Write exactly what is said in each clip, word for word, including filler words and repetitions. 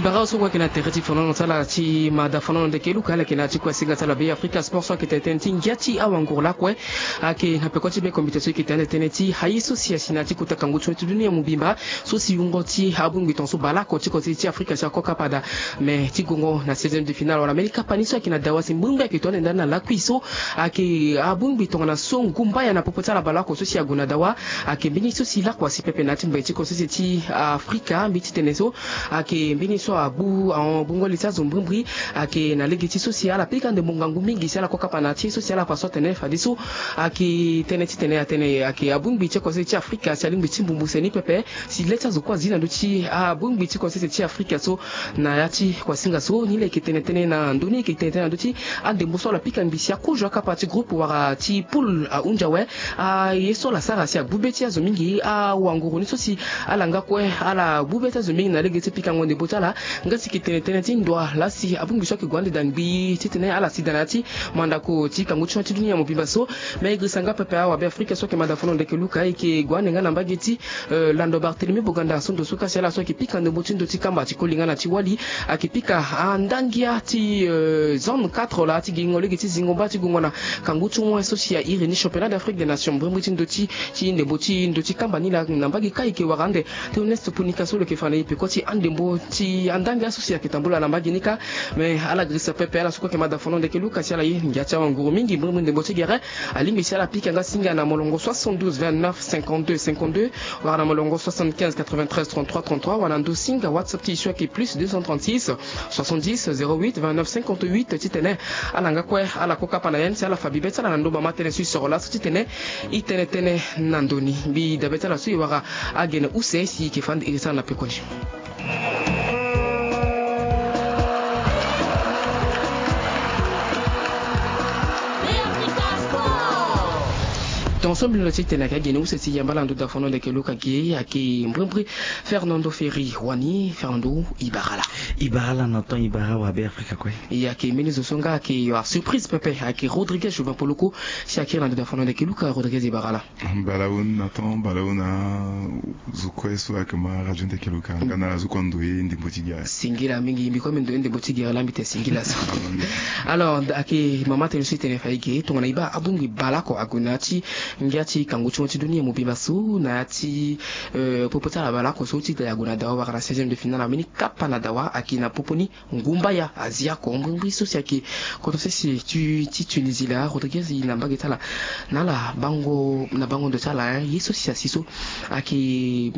Bara so kue ayeke na tere ti fonono ti ala ti mada fonono ndeke luka ala yeke na ya ti kue asinga ti ala Be Afrika Sport so ayeke tene tënë ti ngia ti awanguru lakue. Ayeke na peko ti be komite so e yeke tene tënë ti aye so si asi na ya ti kota kangu ti dunia mobimba so si wungo ti abongbi tongaso baleoko ti kota ti Afrika si akokapa daa. Me ti gongo na seizième de finale wala mbeni kapa ni so ayeke na dawa si mbrimbri ayeke to ande ndani na lakui so ayeke abongbi tongana so ngumba ya na popo ti ala baleoko so si ague na dawa. Ayeke mbeni so si lakua si pepe na ya ti mbai ti kota ti Afrika mbi ti tene so ayeke mbeni so agbu ahon gbungo li ti azo mbrimbri. Ayeke na lege ti so si ala pika ndembo ngangu mingi si ala kokapa na ti so si ala fa so atene fadeso ayeke tënë ti tene atene ayeke abongbi ti kota ti Afrika si alingbi ti mbumbuse ni pepe si le ti azo kue azi na ndö ti abongbi ti kota ti Afrika so. Na ya ti kuasinga so ni laa e yeke tene tënë na ndö ni e yeke tene tënë na ndö ti andembo so ala pika mbi si akozo akapa ti groupe wala ti poule ahunzi awe. Aye so ala sara si agbu be ti azo mingi awanguru ni so si ala nga kue ala gbu be ti azo mingi na lege ti pikango ndembo ti ala. Nga si e yeke tene tënë ti ndo laa si abongbi so ayeke gue ande daa ngbii titene ala si daa na ya ti mandako ti kangu ti dunia mobimba so. Me e girisa nga pepe awa Be Afrika so ayeke mada fonono ndeke luka e yeke gue ande nga na mbage ti Eh, lando Barthélemy Boganda so ndo so ka si ala so ayeke pika ndembo ti ndo ti kamba ti koli nga na ti wali ayeke pika andangia ti eh, zone quatre laa ti gingo lege ti zingo mba ti gongo na kangu ti moi so si airi ni championnat d'Afrique des nations mbrimbri ti ndo ti ti ndembo ti ndo ti kamba ni laa na mbage ka e yeke wara ande. Théoneste Ponika so lo yeke fa na e peko ti andembo ti andangia so si ayeke tambula na mbage ni ka. Me ala girisa pepe ala so kue ayeke mada fonono ndeke luka si ala ye ngia ti awanguru mingi mbrimbri ndembo ti gere. Alingbi si ala pika nga singa na molongo soixante-douze vingt-neuf cinquante-deux cinquante-deux wala na molongo soixante-quinze quatre-vingt-treize trente-trois trente-trois wala na ndo singa WhatsApp ti e so ayeke plus deux cent trente-six soixante-dix zéro huit vingt-neuf cinquante-huit titene ala nga kue ala kokapa na yen si ala fa bibe ti ala na ndo mama tënë so e soro laso titene e tene tënë na ndo ni. Mbi dabe ti ala so e wara agene use si e yeke fani iri ti ala na pekoni. Tongaso mbi londo ti tene ayeke agene use ti yamba ala na ndo dafono ndeke luka ge ayeke mbrimbri Fernando Ferri wani Fernando Ibarala. Ibarala na temps Ibara wa Be Afrika kue. E ayeke mbeni zo so nga ayeke yo asurprise pepe ayeke Rodriguez Jouvin Poloko si akiri na ndo dafono ndeke luka Rodriguez Ibarala. Balaun na temps balaun na zo kue so ayeke ma radio ndeke luka nga na ala zo kue ando ye ndembo ti gere. Singila mingi mbi kue mbi ndo ye ndembo ti gere laa mbi tene singila so. Alors ayeke mama tene so e tene fa e ge tongana e baa abongbi baleoko ague na ya ti ngia ti kangu ti mo ti dunia mobimba so na ya ti eh, popo ti ala baleoko so ti da e ague na dawa wara na seizième de finale ambeni kapa na dawa ayeke na popo ni. Ngumba ya azia ko mbrimbri so si ayeke koto sese ti ti Tunisie laa Rodriguez e na mbage ti ala na ala bango na bango ndo ti ala ye so si asi so ayeke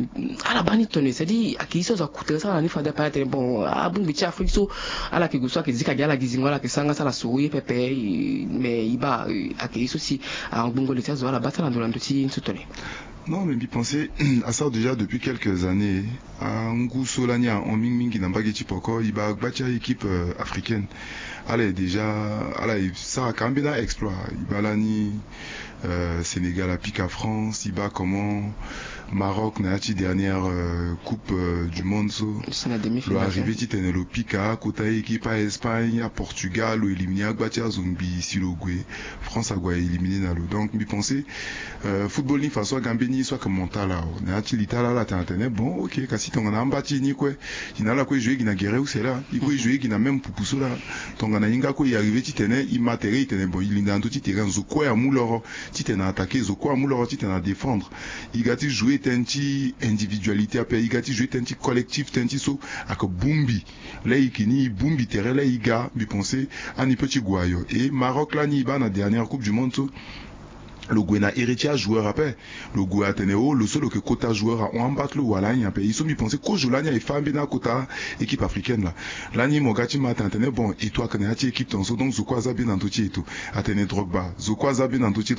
ala baa ni tone c'est-à-dire ayeke ye so azo akute ti ala ni fade ape atene bon abongbi ti Afrique so ala yeke gue so ayeke zika gi ala gi zingo ala yeke sara nga ti ala soro ye pepe. Mais e baa ayeke ye so si angbongo li ti azo ala baa ti ala ndo na ndo ti so tone. Non mais mbi pense asara déjà depuis quelques années. Angu so lani ahon mingi mingi na mbage ti poko e baa gba ti a-équipe africaine. Ala ye déjà ala ye sara ka ambeni a-exploit e baa lani Sénégal apika France e baa comment Maroc na ya ti dernière coupe du monde so lo arrivé titene lo pika akota équipe a-Espagne a-Portugal lo éliminer agba ti azo ngbii si lo gue France ague a éliminer na lo donc mbi pense football ni façon aga mbeni ye so ayeke mental awe na ya ti li ti ala ala tene atene bon ok kasi tongana amba ti e ni kue e na ala kue e joue gi na gere use laa e kue e joue gi na même pupu so laa tongana e hinga kue e arrivé titene e ma tere e tene bon e linda na ndö ti tere zo kue amu loro titene a attaquer zo kue amu loro titene a défendre e ga ti joue tënë ti individualité ape e ga ti joue tënë ti collectif tënë ti so ayeke bongbi laa e yeke ni e bongbi tere laa e ga mbi pense ani peut ti gue ayo e Maroc lani e baa na dernière coupe du monde so lo gue na iri ti ajoueur ape lo gue atene o lo so lo yeke kota joueur ahon amba ti lo wala anyen ape e so mbi pense kozo lani aye fâ ambeni akota équipe africaine laa lani mo ga ti ma atene atene bon eto ayeke na ya ti équipe tongaso donc zo kue aza bien na ndö ti eto atene Drogba zo kue aza bien na ndö ti Drogba